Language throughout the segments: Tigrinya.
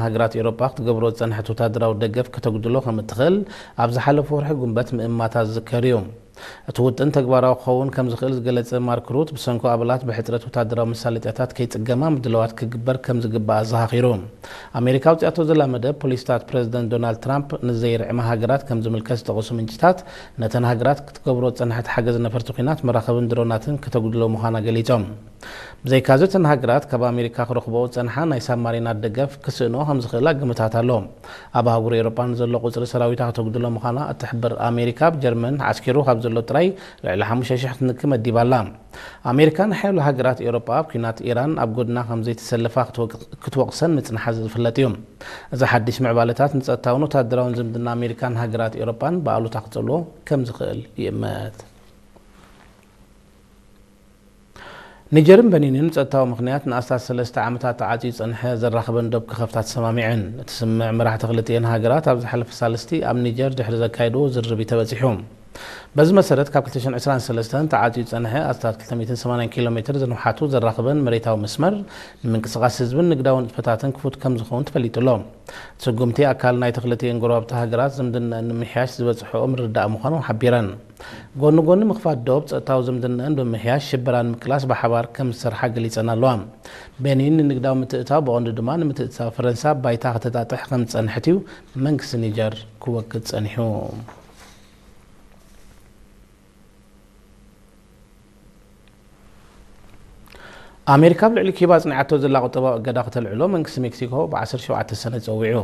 ሃገራት ኤውሮጳ ክትገብሮ ዝጸንሐት ወታደራዊ ደገፍ ከተጉድሎ ከም እትኽእል ኣብ ዝሓለፈ ወርሒ ጉንበት ምእማታ ዝዝከር እዩ። እቲ ውጥን ተግባራዊ ክኸውን ከም ዝኽእል ዝገለጸ ማርክ ሩት፣ ብሰንኮ ኣባላት ብሕጽረት ወታደራዊ መሳለጥያታት ከይጽገማ ምድላዋት ክግበር ከም ዝግባእ ኣዘኻኺሩ። ኣሜሪካ ኣውጺኣቶ ዘላ መደብ፣ ፖሊሲታት ፕረዚደንት ዶናልድ ትራምፕ ንዘይርዕማ ሃገራት ከም ዝምልከት ዝጠቐሱ ምንጭታት፣ ነተን ሃገራት ክትገብሮ ዝጸንሐት ሓገዝ ነፈርቲ ኲናት፣ መራኸብን ድሮናትን ከተጉድሎ ምዃና ገሊጾም። ብዘይካዚ፣ እተን ሃገራት ካብ ኣሜሪካ ክረኽብኦ ዝጸንሓ ናይ ሳብማሪናት ደገፍ ክስእንኦ ከም ዝኽእላ ግምታት ኣሎ። ኣብ ኣህጉር ኤውሮጳ ንዘሎ ቁጽሪ ሰራዊታ ከተጉድሎ ምዃና እትሕብር ኣሜሪካ፣ ኣብ ጀርመን ዓስኪሩ ካብ ዘሎ ጥራይ ልዕሊ ሓሙሽተ ሽሕ ክንኪ መዲባ ኣላ። ኣሜሪካ ንሓያሎ ሃገራት ኤውሮጳ ኣብ ኲናት ኢራን ኣብ ጎድና ከም ዘይተሰለፋ ክትወቅ-፣ ክትወቕሰን ምጽንሓ ዝፍለጥ እዩ። እዚ ሓድሽ ምዕባለታት ንጸጥታውን ወታደራውን ዝምድና ኣሜሪካን ሃገራት ኤውሮጳን ብኣሉታ ክጸልዎ ከም ዝኽእል ይእመት። ኒጀርን በኒንን ብጸጥታዊ ምኽንያት ንኣስታት ሰለስተ ዓመታት ተዓጽዩ ዝጸንሐ ዘራኽበን ዶብ ክኸፍታ ተሰማሚዐን። እቲ ስምምዕ መራሕቲ ክልቲኤን ሃገራት ኣብ ዝሓለፈ ሳልስቲ ኣብ ኒጀር ድሕሪ ዘካየድዎ ዝርርብ እዩ ተበጺሑ። በዚ መሰረት፣ ካብ ክልተ ሽሕን ዕስራን ሰለስተን ተዓጽዩ ዝጸንሐ ኣስታት ክልተ ሚእትን ሰማንያን ኪሎ ሜትር ዝንውሓቱ ዘራኽበን መሬታዊ መስመር፣ ንምንቅስቓስ ህዝብን ንግዳዊ ንጥፈታትን ክፉት ከም ዝኸውን ተፈሊጡ ኣሎ። እቲ ስጉምቲ፣ ኣካል ናይቲ ክልቲኤን ጎረባብቲ ሃገራት ዝምድናኣን ንምምሕያሽ ዝበጽሕኦ ምርድዳእ ምዃኑ ሓቢረን። ጎኒ ጎኒ ምኽፋት ዶብ፣ ጸጥታዊ ዝምድናኣን ብምምሕያሽ ሽበራ ንምቅላስ ብሓባር ከም ዝሰርሓ ገሊጸን ኣለዋ። ቤኒን ንንግዳዊ ምትእትታው፣ ብቐንዱ ድማ ንምትእትታው ፈረንሳ፣ ባይታ ከተጣጥሕ ከም ዝጸንሐት እዩ መንግስቲ ኒጀር ክወክል ጸኒሑ። ኣሜሪካ ኣብ ልዕሊ ኪባ ኣጽኒዓቶ ዘላ ቁጠባዊ እገዳ ከተልዕሎ መንግስቲ ሜክሲኮ ብ ዓሰርተ ሸውዓተ ሰነ ጸዊዑ።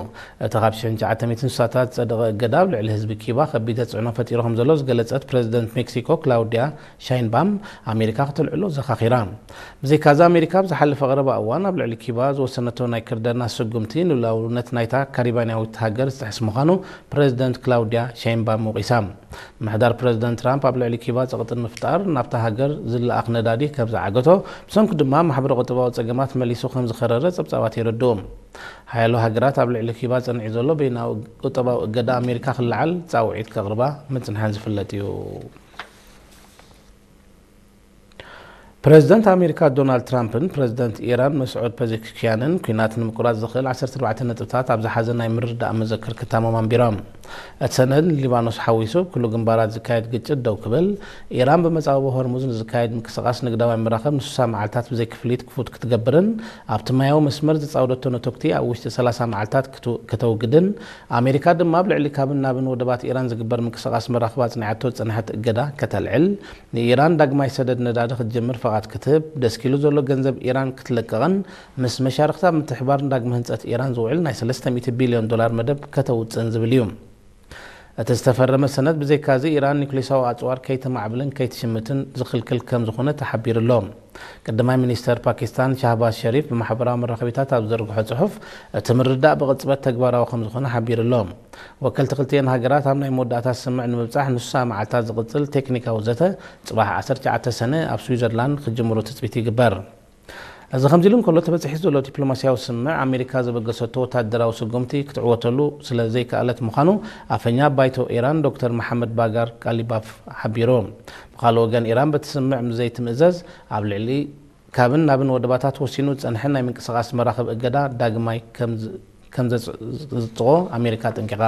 እቲ ካብ ሽሕን ትሽዓተ ሚእትን ስሳታት ዝጸደቐ እገዳ ኣብ ልዕሊ ህዝቢ ኪባ ከቢድ ተጽዕኖ ፈጢሩ ከም ዘሎ ዝገለጸት ፕረዚደንት ሜክሲኮ ክላውዲያ ሻይንባም፣ ኣሜሪካ ከተልዕሎ ዘኻኺራ። ብዘይካዚ፣ ኣሜሪካ ኣብ ዝሓለፈ ቀረባ እዋን ኣብ ልዕሊ ኪባ ዝወሰነቶ ናይ ክርደና ስጉምቲ ንሉዓላውነት ናይታ ካሪባንያዊት ሃገር ዝጥሕስ ምዃኑ ፕረዚደንት ክላውዲያ ሻይንባም ወቒሳ። ምሕዳር ፕረዚደንት ትራምፕ ኣብ ልዕሊ ኪባ ጸቕጢ ንምፍጣር ናብታ ሃገር ዝለኣኽ ነዳዲ ከም ዝዓገቶ፣ ብሰንኩ ድማ ማሕበረ ቁጠባዊ ጸገማት መሊሱ ከም ዝኸረረ ጸብጻባት የረድኡ። ሓያሎ ሃገራት ኣብ ልዕሊ ኪባ ጸኒዑ ዘሎ በይናዊ ቁጠባዊ እገዳ ኣሜሪካ ክለዓል ጻውዒት ከቕርባ ምጽንሐን ዝፍለጥ እዩ። ፕረዚደንት ኣሜሪካ ዶናልድ ትራምፕን ፕረዚደንት ኢራን መስዑድ ፐዚሽክያንን፣ ኲናት ንምቁራጽ ዝኽእል ዓሰርተ ኣርባዕተ ነጥብታት ኣብ ዝሓዘ ናይ ምርድዳእ መዘክር ክታሞም ኣንቢሮም። እቲ ሰነድ ንሊባኖስ ሓዊሱ ኣብ ኩሉ ግንባራት ዝካየድ ግጭት ደው ክብል፣ ኢራን ብመጻብቦ ሆርሙዝ ንዝካየድ ምንቅስቓስ ንግዳዊ መራኸብ ንስሳ መዓልታት ብዘይ ክፍሊት ክፉት ክትገብርን ኣብቲ ማያዊ መስመር ዘጻወደቶ ነተጉቲ ኣብ ውሽጢ ሰላሳ መዓልታት ክት-፣ ከተውግድን፣ ኣሜሪካ ድማ ኣብ ልዕሊ ካብን ናብን ወደባት ኢራን ዝግበር ምንቅስቓስ መራኽብ ኣጽኒዓቶ ዝጸንሐት እገዳ ከተልዕል፣ ንኢራን ዳግማይ ሰደድ ነዳዲ ክትጅምር ፍቓድ ክትህብ፣ ደስኪሉ ዘሎ ገንዘብ ኢራን ክትለቅቕን ምስ መሻርኽታ ምትሕባር ንዳግመ ህንጸት ኢራን ዝውዕል ናይ ሰለስተ ሚእቲ ቢልዮን ዶላር መደብ ከተውጽእን ዝብል እዩ። እቲ ዝተፈረመ ሰነድ፣ ብዘይካዚ፣ ኢራን ኒውክሌሳዊ ኣጽዋር ከይተማዕብልን ከይትሽምትን ዝኽልክል ከም ዝኾነ ተሓቢሩ ኣሎ። ቀዳማይ ሚኒስተር ፓኪስታን ሻህባዝ ሸሪፍ ብማሕበራዊ መራኸቢታት ኣብ ዝዘርግሖ ጽሑፍ፣ እቲ ምርድዳእ ብቕጽበት ተግባራዊ ከም ዝኾነ ሓቢሩ ኣሎ። ወከልቲ ክልቲኤን ሃገራት ኣብ ናይ መወዳእታ ስምምዕ ንምብጻሕ ንስሳ መዓልታት ዝቕጽል ቴክኒካዊ ዘተ፣ ጽባሕ ዓሰርተ ትሽዓተ ሰነ ኣብ ስዊዘርላንድ ክጅምሩ ትጽቢት ይግበር። እዚ ከምዚ ኢሉ እንከሎ፣ ተበጺሑ ዘሎ ዲፕሎማስያዊ ስምምዕ ኣሜሪካ ዘበገሰቶ ወታደራዊ ስጉምቲ ክትዕወተሉ ስለ ዘይከኣለት ምዃኑ ኣፈኛ ባይቶ ኢራን ዶክተር መሓመድ ባጋር ቃሊባፍ ሓቢሩ። ብኻልእ ወገን፣ ኢራን በቲ ስምምዕ ምስ ዘይትምእዘዝ፣ ኣብ ልዕሊ ካብን ናብን ወደባታት ወሲኑ ዝጸንሐ ናይ ምንቅስቓስ መራኽብ እገዳ ዳግማይ ከም ዝ-፣ ከም ዘጽ-፣ ዘጽድቖ ኣሜሪካ ኣጠንቂቓ።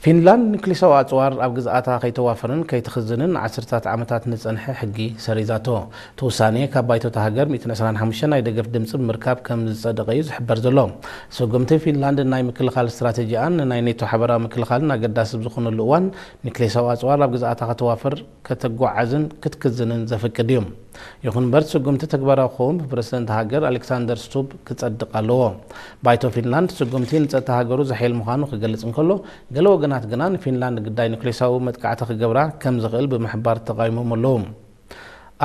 ፊንላንድ ኒክሊሳዊ ኣጽዋር ኣብ ግዝኣታ ከይተዋፍርን ከይትኽዝንን ንዓሰርታት ዓመታት ንጸንሐ ሕጊ ሰሪዛቶ። እቲ ውሳኔ ካብ ባይቶ እታ ሃገር ሚእትን ዕስራን ሓሙሽተን ናይ ደገፍ ድምጺ ብምርካብ ከም ዝጸደቐ እዩ ዝሕበር ዘሎ። ስጉምቲ ፊንላንድ ናይ ምክልኻል ስትራተጂኣን ንናይ ኔቶ ሓበራዊ ምክልኻልን ኣገዳሲ ኣብ ዝኾነሉ እዋን፣ ኒክሌሳዊ ኣጽዋር ኣብ ግዝኣታ ከተዋፍር፣ ከተጓዓዝን ክትክዝንን ዘፍቅድ እዩ። ይኹን እምበር፣ እቲ ስጉምቲ ተግባራዊ ክኸውን ብፕረሲደንት ሃገር ኣሌክሳንደር ስቱብ ክጸድቕ ኣለዎ። ባይቶ ፊንላንድ፣ ስጉምቲ ንጸጥታ ሃገሩ ዘሐይል ምዃኑ ክገልጽ እንከሎ፣ ገለ ወገናት ግና ንፊንላንድ ግዳይ ኒክሌሳዊ መጥቃዕቲ ክገብራ ከም ዝኽእል ብምሕባር ተቓዊሞም ኣለዉ።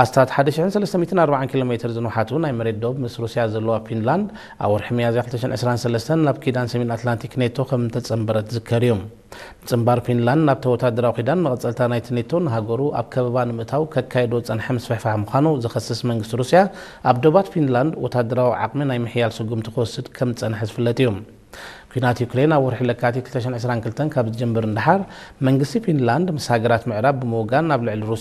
ኣስታት ሓደ ሽሕን ሰለስተ ሚእትን ኣርባዓን ኪሎ ሜትር ዝንውሓቱ ናይ መሬት ዶብ ምስ ሩስያ ዘለዋ ፊንላንድ፣ ኣብ ወርሒ ሚያዝያ ክልተ ሽሕን ዕስራን ሰለስተን ናብ ኪዳን ሰሜን ኣትላንቲክ ኔቶ ከም እተጸንበረት ዝዝከር እዩ። ምጽንባር ፊንላንድ ናብቲ ወታደራዊ ኪዳን፣ መቐጸልታ ናይቲ ኔቶ፣ ንሃገሩ ኣብ ከበባ ንምእታው ከካይዶ ዝጸንሐ ምስፍሕፋሕ ምዃኑ ዝኸስስ መንግስቲ ሩስያ፣ ኣብ ዶባት ፊንላንድ ወታደራዊ ዓቕሚ ናይ ምሕያል ስጉምቲ ክወስድ ከም ዝጸንሐ ዝፍለጥ እዩ። ኲናት ዩክሬን ኣብ ወርሒ ለካቲት ክልተ ሽሕን ዕስራን ክልተን ካብ ዝጅምር ንደሓር፣ መንግስቲ ፊንላንድ ምስ ሃገራት ምዕራብ ብምውጋን ኣብ ልዕሊ ሩስያ